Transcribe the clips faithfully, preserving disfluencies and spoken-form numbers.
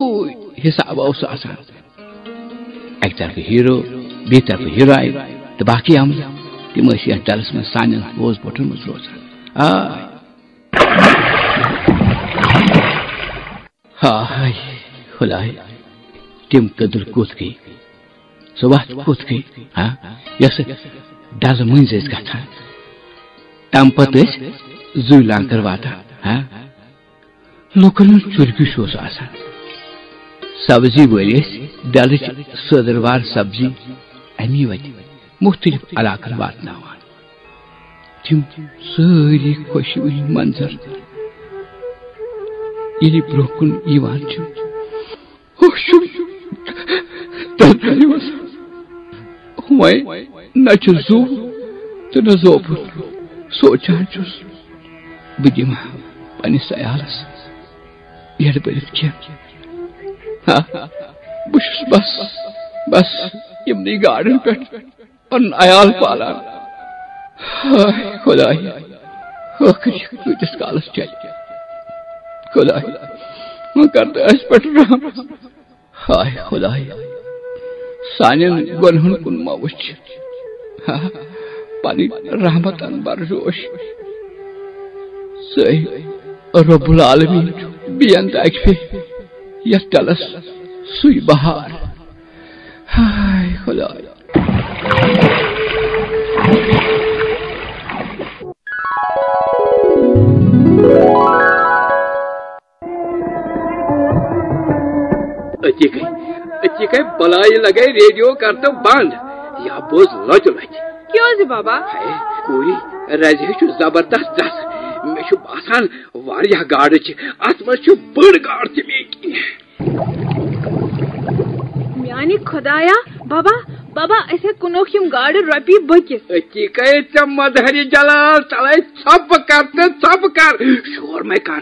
اوے حساب اوس آسان۔ اکہِ طرفہٕ ہیرو، بیٚیہِ طرفہٕ ہیروین تہٕ باقی عملہٕ۔ تِم ٲسۍ یتھ ڈلس منٛز سانٮ۪ن بوز بوٹن منٛز روزان۔ آ۔ ہاے خداے، تِم کٔدٕل کوٚت گٔے؟ سۄ وَتھ کوٚت گٔے؟ ہا؟ یۄس ڈلہٕ مٔنٛزۍ ٲسۍ گژھان، تَمہِ پتہٕ ٲسۍ زُوۍ لانکر واتان۔ ہا؟ لوٗکن ہُنٛد چُرگیُش اوس آسان۔ سبزی وٲلۍ ٲسۍ ڈلٕچ سٲدٕروار سبزی اَمی وتہِ مُختٔلِف علاقن واتناوان۔ تِم سٲری خۄشوٕنۍ منظر ییٚلہِ برٛونٛہہ کُن یِوان چھِ، ہوش چھُم تَتھ دۄہہِ وَسان۔ وۄنۍ نہ چھُ زُو تہٕ نہ زوبُن۔ سونٛچان چھُس، بہٕ دِمہٕ ہا پننِس عیالس یَڈ بٔرِتھ کینٛہہ۔ ہا، بہٕ چھُس بس، بس یِمنٕے گاڈن پٮ۪ٹھ پنُن عیال پالان۔ ہاے خۄداے، ٲخٕر یہِ کۭتِس کالس چلہِ؟ خۄداے، وۄنۍ کر تہٕ اَسہِ پٮ۪ٹھ رحم۔ ہاے خۄداے، سانٮ۪ن گۄنہن کُن مہ وٕچھ۔ ہا، پنٕنۍ رحمتن برجوش۔ ژٕے رب العالمین چھُ بیٚیَن تہِ اَکہِ پھِرِ یَتھ ڈلس سُے بہار۔ ہاے خۄداے۔ أتی گٔے، أتی گٔے بلایہِ لگے ریڈیو کرتہٕ بند۔ یا بوز لۄتہِ لۄتہِ۔ کیٛازِ بابا؟ ہے، کوٗری، رزِ ہٕے چھُ زبردست دس۔ مےٚ چھُ باسان واریاہ گاڈٕ چھِ۔ اتھ منٛز چھُ بٔڑ گاڈ تہِ مےٚ کِنۍ۔ میانہِ خۄدایا، بابا، بابا، أسۍ ہے کٕنوکھ یِم گاڈٕ رۄپیہِ بٔکِس۔ أتی گٔے ژےٚ مظہرِ جلال، تلے ژھۄپہٕ کر تہٕ ژھۄپہٕ کر۔ شور مے کر،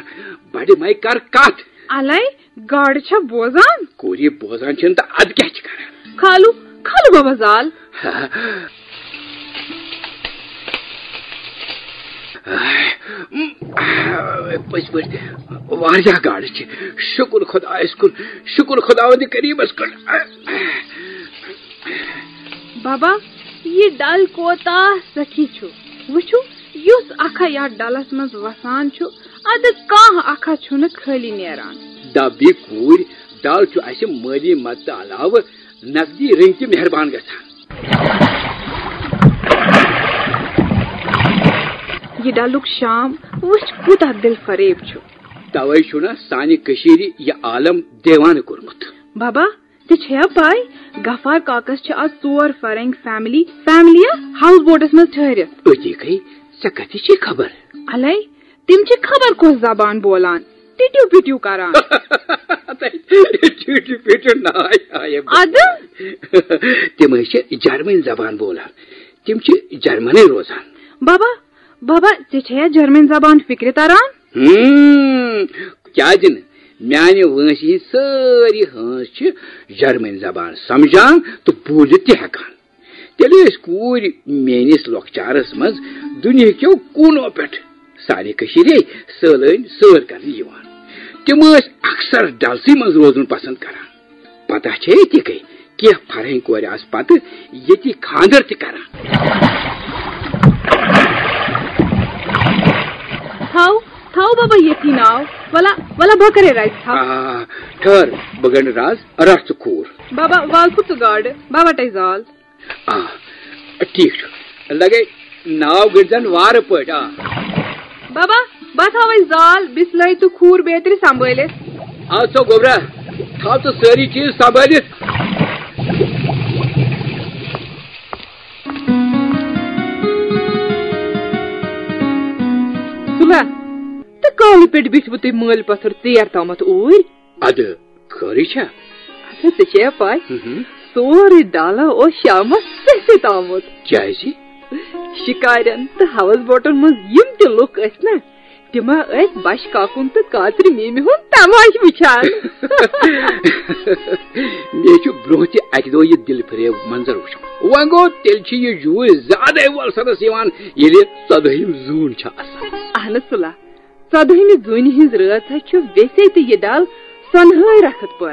بڑِ مے کر کتھ۔ الے، گاڈٕ چھا بوزان؟ کوٗری بوزان چھِنہٕ تہٕ ادٕ کیٛاہ چھِ کران؟ کھالو، کھالو بابا زال۔ پٔزۍ پٲٹھۍ واریاہ گاڈٕ چھِ۔ شُکُر خۄدایَس کُن، شُکُر خۄداوندِ کریٖمَس کُن۔ بابا، یہِ ڈل کوتاہ سخی چھُ۔ وٕچھِو، یُس اکھا یتھ ڈلس منٛز وسان چھُ، ادٕ کانٛہہ اکھا چھُنہٕ خٲلی نیران۔ دبی کوٗرۍ، ڈل چھُ اسہِ مٲلی مدتہٕ علاوٕ نقدی رٔنگۍ تہِ مہربان گژھان۔ یہِ ڈلُک شام وٕچھ، کوٗتاہ دل فریب چھُ۔ توے چھُنہ سانہِ کٔشیٖرِ یہِ عالم دیوانہٕ کوٚرمُت۔ بابا، ژےٚ چھےٚ پَے، غفار کاکس چھِ آز ژور فرنگ فیملی، فیملیہ ہاوُس بوٹس منٛز ٹھٔہرِتھ۔ أتی گٔے، ژےٚ کتہِ چھے خبر؟ الے، تِم چھِ خبر کۄس زبان بولان، ٹِٹِو پِٹِو کران۔ ٹِٹِو پِٹِو ناے آیہِ۔ ادٕ؟ تِم ٲسۍ چھِ جرمن زبان بولان۔ تِم چھِ جرمنٕے روزان۔ بابا، بابا، ژےٚ چھےٚ یا جرمن زبان فکرِ تران؟ ہم، کیازِ نہٕ؟ میانہِ وٲنٛسہِ ہٕنٛدۍ سٲری ہٲنٛز چھِ جرمن زبان سمجھان تہٕ بوٗزِتھ تہِ ہٮ۪کان۔ تیٚلہِ ٲسۍ کوٗرۍ میٲنِس لۄکچارس منٛز دُنیہکیو کوٗنو پٮ۪ٹھ سانہِ کٔشیٖرے سٲلٲنۍ سٲر کرنہِ یِوان۔ تِم ٲسۍ اکثر ڈلسٕے منٛز روزُن پسند کران۔ پتہ چھے تہِ گٔے، کینٛہہ فرہنگ کورِ آسہٕ پتہٕ ییٚتی خانٛدر تہِ کران۔ تھاو، تھاو بابا ییٚتی ناو۔ ولا، ولا بہٕ کرے رزِ تھاو۔ آ، ٹھٔہر، بہٕ گنڈٕ راز، رٹھ ژٕ کھوٗر۔ بابا، وال پھُٹ ژٕ گاڈٕ، بہٕ وٹے زال۔ آ، ٹھیک چھُ۔ لگے ناو گٔنڈزن وارٕ پٲٹھۍ، آ۔ بابا، بہٕ تھاوے زال، بسلٲے تہٕ کھوٗر بیترِ سنبھٲلِتھ۔ آ، ژٕ گوٚبرا، تھاو ژٕ سٲری چیٖز سنبھٲلِتھ۔ سُلا، تہٕ کالہٕ پٮ۪ٹھ بیٖٹھوٕ تُہۍ مٲلۍ پتھر ژیر تامتھ اوٗرۍ؟ ادٕ خٲرٕے چھا؟ اچھا، ژےٚ چھےٚ پَے؟ ہم۔ سورُے ڈالہ اوس شامس سٕہہ سۭتۍ آمُت۔ کیازِ؟ شِکارٮ۪ن تہٕ ہاوس بوٹن منٛز یِم تہِ لُکھ ٲسۍ نا، تِم ٲسۍ بش کاکُن تہٕ کاترِ میمہِ ہُنٛد تماشہٕ وٕچھان۔ مےٚ چھُ برونٛہہ تہِ اکہِ دۄہ یہِ دِل فریب منظر وٕچھمُت۔ وۄنۍ گوٚو، تیٚلہِ چھِ یہِ جوٗرۍ زیادَے وۄلسَنس یِوان، ییٚلہِ ژۄدٲہِم زوٗن چھِ آسان۔ اہن سُلا، ژۄدٲہمہِ زوٗنہِ ہٕنٛز رٲژ حظ چھُ ویسے تہِ یہِ ڈل سۄنہٕ ہٲوۍ رکھت پٲٹھۍ۔